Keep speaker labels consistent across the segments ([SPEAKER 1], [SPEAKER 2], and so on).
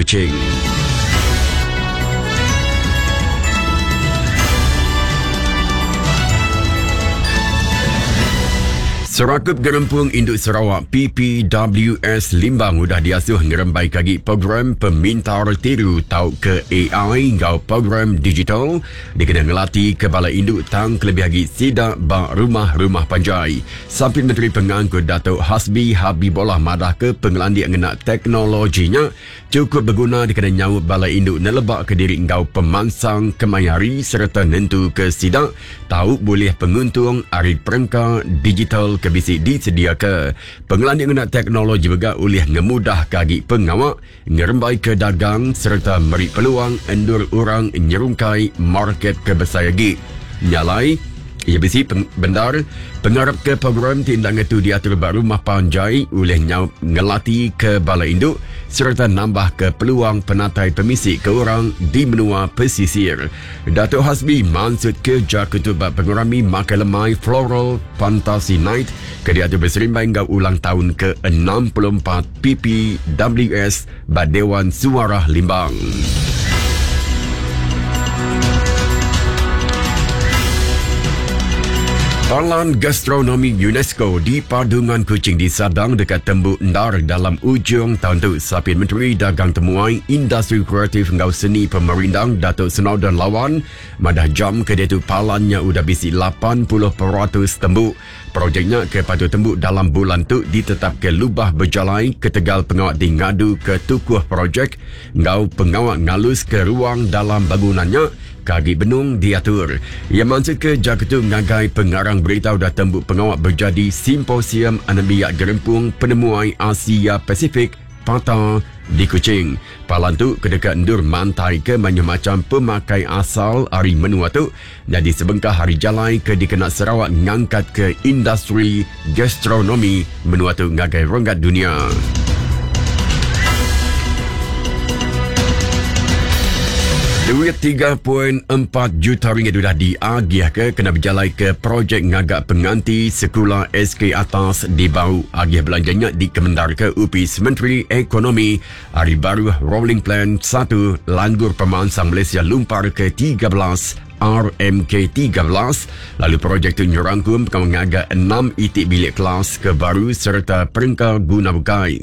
[SPEAKER 1] Kuching. Serakup Gerempung Indu Sarawak PPWS Limbang udah diasuh ngerembai ke agi program pemintar tiru tauka AI enggau program digital dikena ngelati ke bala indu tang kelebih agi sida ba rumah-rumah panjai. Sapit Menteri Pengangkut Datuk Hasbi Habibollah madahka pengelandik ngena teknologi nya chukup beguna dikena nyaup bala indu nelebaka diri enggau pemansang kemaya hari sereta nentuka sida tau bulih penguntung ari perengka digital ke bisi disediaka. Pengelandik ngena teknologi mega ulih ngemudahka agi pengawa ngerembaika dagang sereta meri peluang endur orang nyerungkai market ke besai agi. Nya alai, iya bisi bendar pengarap ke program ti enda ngetu diatur ba rumah panjai ulih nyaup ngelatika bala indu sereta nambahka peluang penatai pemisi ke orang di menua pesisir. Datuk Hasbi mansutka jaku tu ba pengerami makai lemai Floral Fantasy Night ke diatur beserimbai enggau ulang taun ke 64 PPWS ba Dewan Suarah Limbang. Palan Gastronomi UNESCO di Padungan Kuching disadang deka tembu endar dalam ujung taun tu. Sapit Menteri Dagang Temuai, Industri Kreatif enggau Seni Pemerindang Datuk Snowdan Lawan madah jam ke diatu palan nya udah bisi 80% tembu. Projek nya ke patut tembu dalam bulan tu ditetapka lubah bejalai ketegal pengawa ti ngaduka tukuh projek enggau pengawa ngaluska ruang dalam bangunan nya ke agi benung diatur. Iya mansutka jaku tu ngagai pengarang berita udah tembu pengawa bejadi Simposium Anembiak Gerempung Penemuai Asia Pasifik, PATA, di Kuching. Palan tu ke deka endur mantaika mayuh macham pemakai asal ari menua tu nyadi sebengkah ari jalai ke dikena Sarawak ngangkatka industri gastronomi menua tu ngagai renggat dunya. Duit 3.4 juta ringgit udah diagihka kena bejalaika projek ngaga penganti sekula SK Atas di Bau. Agih belanja nya dikemendarka Opis Menteri Ekonomi ari baruh Rolling Plan 1 Langgur Pemansang Malaysia Lumpar ke 13 RMK 13 lalu projek tu nyerangkum pengawa ngaga enam iti bilik kelas ke baru sereta perengka guna bukai.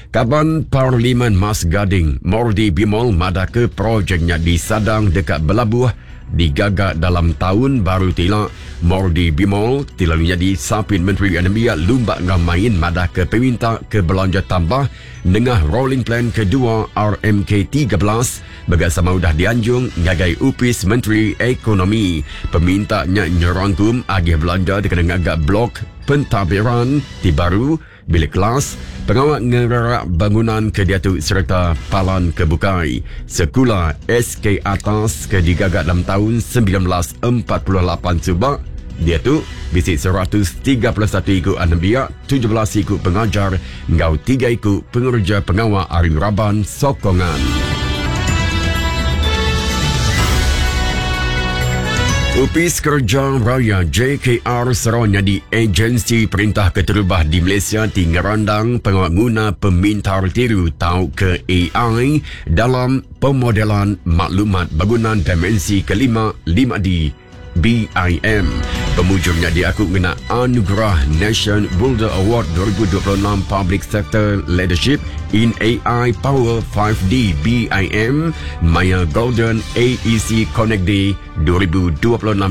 [SPEAKER 1] Kaban Parlimen Mas Gading, Mordi Bimol madahka projek nya disadang deka belabuh digaga dalam taun baru ti ila. Mordi Bimol ti lalu nyadi Sapit Menteri Anembiak Lumba enggau Main madahka peminta ke belanja tambah nengah Rolling Plan Kedua RMK 13 mega sama udah dianjung ngagai Opis Menteri Ekonomi. Peminta nya nyerangkum agih belanja dikena ngaga blok pentadbiran ti baru, bilik kelas, pengawa ngererak bangunan ke diatu sereta palan ke bukai. Sekula SK Atas ke digaga dalam taun 1948 suba diatu bisi 131 iku anembiak, 17 iku pengajar enggau tiga iku pengereja pengawa ari raban sokongan. Opis Kereja Raya JKR Sarawak nyadi agensi perintah keterubah di Malaysia ti ngerandang pengawa nguna pemintar tiru tauka AI dalam pemodelan maklumat bangunan dimensi kelima 5D BIM. Pemujur nya diaku ngena Anugerah Nation Builder Award 2026 Public Sector Leadership in AI Power 5D BIM maya Golden AEC Connect Day 2026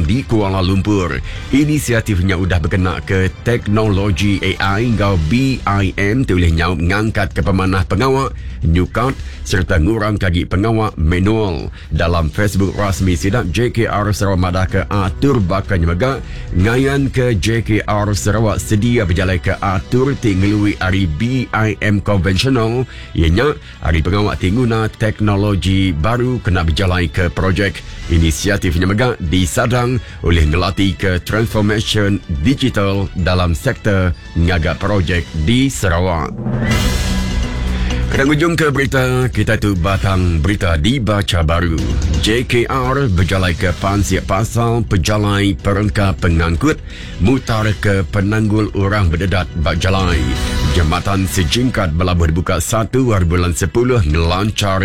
[SPEAKER 1] di Kuala Lumpur. Inisiatif nya udah bekena ke teknologi AI enggau BIM ti ulih nyaup ngangkatka pemanah pengawa nyukat sereta ngurangka agi pengawa manual. Dalam Facebook rasmi sida, JKR Sarawak madahka atur baka nya mega ngayanka JKR Sarawak sedia bejalaika atur ti ngelui ari BIM konvensional iya nya ari pengawa ti nguna teknologi baru kena bejalaika projek. Inisiatif nya mega disadang ulih ngelatika transformasyen digital dalam sektor ngaga projek di Sarawak. Kena ngujungka berita kita tu batang berita dibacha baru. JKR bejalaika pansik pasal pejalai perengka pengangkut mutar ke penanggul orang bededat ba jalai. Jematan Sejingkat belabuh dibuka 1 hari bulan 10 ngelanchar.